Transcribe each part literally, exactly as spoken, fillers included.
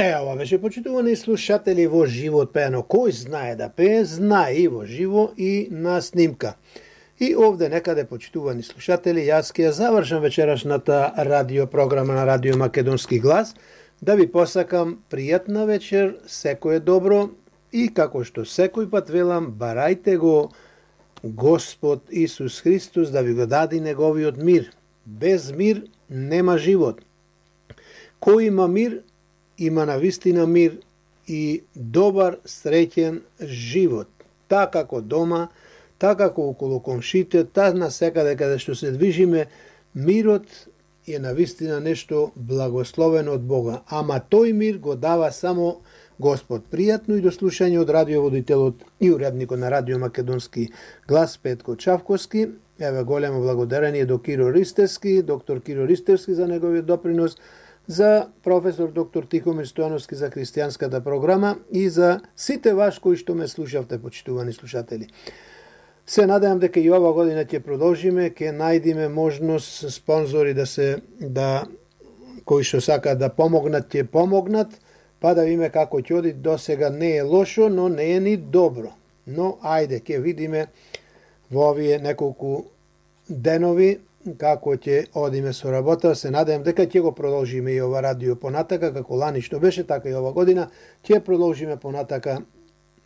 Е, ова беше, почитувани слушатели, во живот пеено. Кој знае да пее, знае и во живо и на снимка. И овде некаде, почитувани слушатели, јас ќе ја завршам вечерашната радиопрограма на Радио Македонски глас, да ви посакам пријатна вечер, секој е добро и како што секој пат велам, барајте го Господ Исус Христос да ви го даде неговиот мир. Без мир нема живот. Кој има мир, има навистина мир и добар, среќен живот. Така како дома, така како околу комшите, така на секаде каде што се движиме, мирот е навистина нешто благословено од Бога. Ама тој мир го дава само Господ. Пријатно и до слушање од радиоводителот и уредникот на Радио Македонски глас Петко Чавковски. Еве големо благодарение до Киро Ристевски, доктор Киро Ристевски за неговиот допринос, за професор доктор Тихомир Стојановски за христијанската програма и за сите ваш кои што ме слушавте, почитувани слушатели. Се надевам дека и ова година ќе продолжиме, ќе најдиме можност спонзори да се да кои што сакаат да помогнат, ќе помогнат, па да видиме како ќе оди. До сега не е лошо, но не е ни добро. Но ајде, ќе видиме во овие неколку денови како ќе одиме со работа. Се надевам дека ќе го продолжиме и ова радио понатака, како лани што беше, така и ова година ќе продолжиме понатака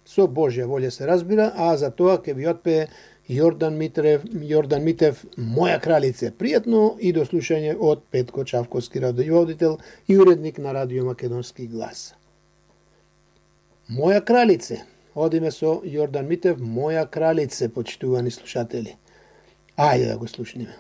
со Божја волја, се разбира, а за тоа ќе ви отпее Јордан Митрев, Јордан Митев, Моја кралице. Пријатно и до слушање од Петко Чавковски, радиоводител и уредник на Радио Македонски глас. Моја кралице. Одиме со Јордан Митев, Моја кралице, почитувани слушатели. Ајде да го слушнеме.